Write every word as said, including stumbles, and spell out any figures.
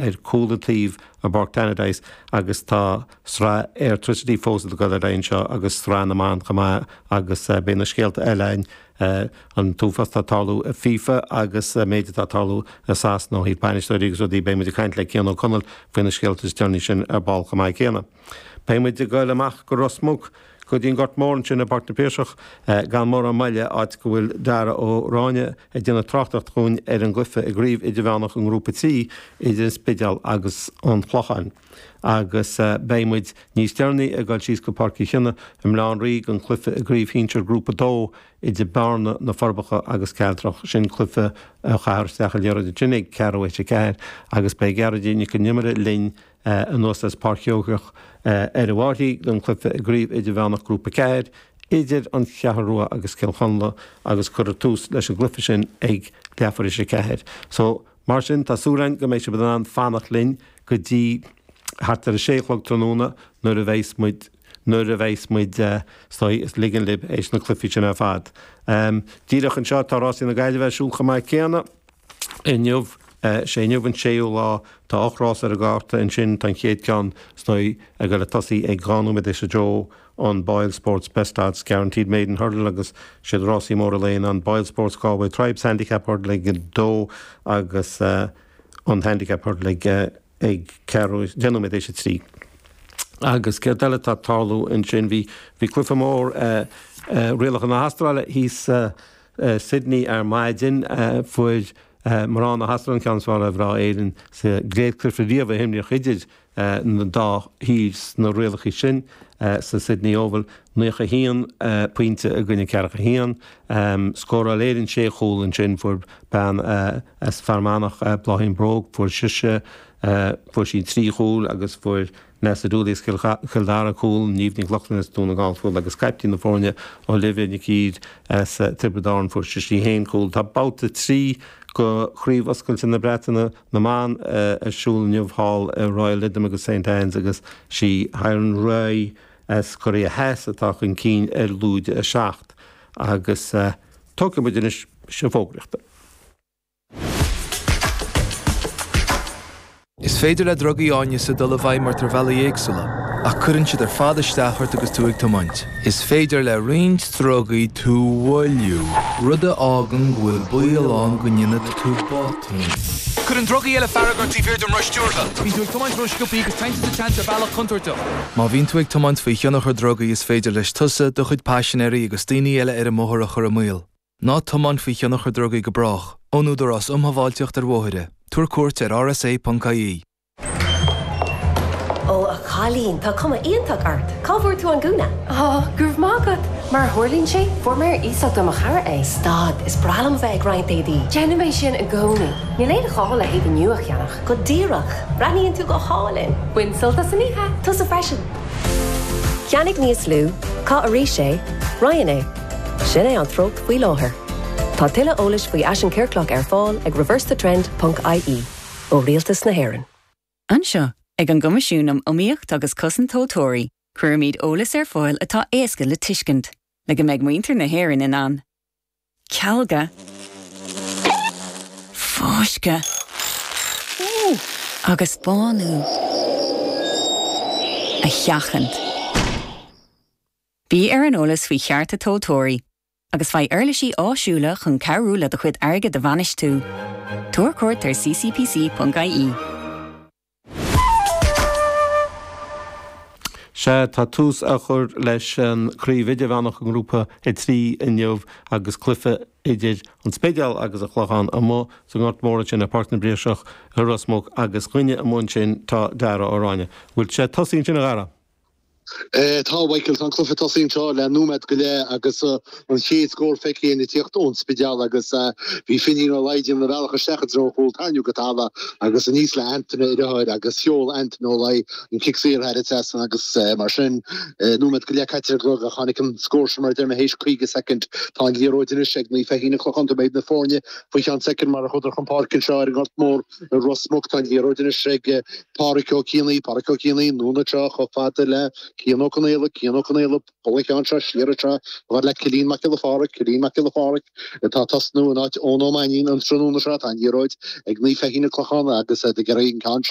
ar chúl an taobh i bPáirc Tannadice agus tá sraith Airtricity fós ag dul ar aghaidh anseo agus sraith na mban chomh maith agus beidh na scéalta eile againn an t-uafás atá ag tarlú i FIFA agus méid atá ag tarlú i Sasana ó thaobh bainisteoirí agus rudaí beidh muid ag caint le Cian Ó Conaill faoi na scéalta is deireanaí sin ar ball chomh maith céanna. Beidh muid ag dul amach go Ros Muc go dtí an Gort Mór ansin i bPáirc na Piarsach gan mórán moille áit go bhfuil Dara Ó Ráinne ag déanamh tráchtaireacht dhúinn ar an gcluiche i gcraobh idirmheánach an ngrúpa trí idir an Spidéal agus an Clochán. Agus beidh muid níos deireanaí ag dul síos go Páirc Uí Chionnaith i mBaile Átha an Rí don chluiche i gcraobh shinsir grúpa dó idir Bearna na Forbacha agus Cealtrach sin cluiche a chaithfear isteach an liathróid ansin ag ceathrú théis a ceathair agus beidh Gearóidín Nic an Iomaire linn anuas as Páirc Sheoigheach ar an bhFairche don chluiche i gcraobh idirmheánach grúpa ceathair idir an Cheathrú Rua agus Cill Chonla agus cuirfear tús leis an gcluiche sin ag leathuair théis a ceathair. So mar sin tá súil againn go mbeidh sibh in ann fanacht linn go dtí thart ar a sé a chlog tráthnóna nuair a bheas muid nuair a bheas muid ag ligean libh éis na cluichí sin ar fad. Um, díreach anseo tá rásaí na Gaillimhe ar siúl chomh maith céanna inniu sé inniu an séú lá tá ocht rás ar an gcárta ansin tá an chéad ceann sna ag le tosaí ag dhá nóiméad théis a dó an Boyle Sports Best Odds Guaranteed Maiden Hurdle agus siad rásaí móra léin an Boyle Sports Galway Tribes Handicap Hurdle ag dó agus uh, an Handicap Hurdle ag, uh, ag ceathrú deich nóiméad théis a trí. Agus céard eile tá ag tarlú ansin bhí bhí cluiche mór uh, uh, rialacha na hAstráile thíos uh, uh, Sydney ar maidin uh, fuair uh, mná na hAstráile an ceann is fearr ar mhná Éireann sa gcéad chluiche riamh a himríodh idir uh, na dá thír na rialacha sin uh, sa Sydney Oval naocha haon uh, pointe i gcoinne ceathracha haon um, scóráil Éirinn sé chúl ansin fuair bean uh, as Fear Manach uh, Bláithín Bróg fuair sise uh, fuair sí trí chúl agus fuair Nessa Dooley Chill Dara cúl Niamh Ní Loughlin as Dún na nGall cúl agus caiptín na foirne Olivia Nic Íd as Tiobraid Árann fuair sí haon cúl. Tá babhta trí de chraobh oscailte na Breataine na mban ar siúl inniu thall i Royal Lytham agus St Anne's agus sí Hiron Rai as Korea Theas atá chun cinn ar lúide a seacht agus uh, tógfaidh muid anois sé fógraíochta. Is féidir le drugaí áineasa dul i bhfeidhm ort ar bhealaí éagsúla, ach cuireann siad ar fad isteach ort agus tú ag tiomáint. Is féidir le roinnt drugaí tú a mhoilliú, rud a fhágann go bhfuil baol ann go ndéanfaidh tú botún. Cuireann drugaí eile fearg ort taobh thiar den roth stiúrtha. Bíonn tú ag tiomáint ró-sciobtha agus téann tú sa tseans ar bhealach contúirteach. Má bhíonn tú ag tiomáint faoi thionchar drugaí is féidir leis tusa do chuid paisinéirí agus daoine eile ar an mbóthar a chur i mbaol. Ná tiomáin faoi thionchar drugaí go brách, ón Údarás um Shábháilteacht ar Bhóithre. Tabhair cuairt ar rsa.ie. Ó a chailín tá cuma iontach ort. Cá bhfuair tú an gúna? Á, go raibh maith agat, mar a tharlaíonn sé, fuair mé ar iasacht ó mo chara é. Stad, is breá liom bheith ag roinnt éadaí. Déanaim é sin i gcónaí. Níl aon ghá le héadaí nua a cheannach. Go díreach, breathnaíonn tú go hálainn. Bain sult as an oíche. Tusa freisin. Ceannaigh níos lú, caith arís é, roinn é. Sin é an treocht faoi láthair. Tá tuilleadh eolais faoi fhaisean ciorclach ar fáil ag reversethetrend.ie ó Rialtas na hÉireann. Anseo ag an gCoimisiún um Iomaíocht agus Cosaint Tomhaltóirí, cuirimid eolas ar fáil atá éasca le tuiscint, le go mbeidh muintir na hÉireann in ann. Cealga, fáisceadh agus bánú a sheachaint. Bí ar an eolas faoi chearta tomhaltóirí, agus faigh uirlisí áisiúla chun cabhrú le do chuid airgid a bhainistiú. Tabhair cuairt ar ccpc.ie. Sea tá tús á chur leis an chraobh idirmheánach an ngrúpa a trí inniu agus cluiche idir an Spidéal agus an Clochán amuigh sa nGort Mór ansin i Páirc na bPiarsach i Ros Muc agus dhuine amuigh ansin tá Dara Ó Ráinne. Bhfuil sé tosaithe ansin a Dhara? Tá Michael, tá an cluiche tosaithe anseo le nóiméad go leith agus an chéad scór feicthe ag tíocht ón Spidéal agus bhí Finín Ó Laighin ina bhealach isteach i dtreo an chúil tarraingthe go talamh agus aníos le Antaine a dheartháir agus sheol Antaine Ó Laoi an cic saor thar an trasnán agus mar sin nóiméad go leith caite ar an gclog ach tháinig an scór sin mar a deir mé théis caoga soicind. Tá an liathróid anois ag Naomh Feichín an Clochán beidh na foirne faoi cheann soicind mar a chuadar chun páirce anseo ar an nGort Mór i Ros Muc. Tá an liathróid anois ag Páraic Ó Cianaigh, Páraic Ó Cianaigh, anonn anseo chomh fada le Cian Ó Conaola, Cian Ó Conaola, buail an ceann seo siar anseo chomh fada le Cillian Mac Giolla Pháraic, Cillian Mac Giolla Pháraic atá ag tosnú in áit Eoin Ó Mainnín an tráthnóna seo. Tá an liathróid ag Naomh Feichín an Clochán agus ag iarraidh an ceann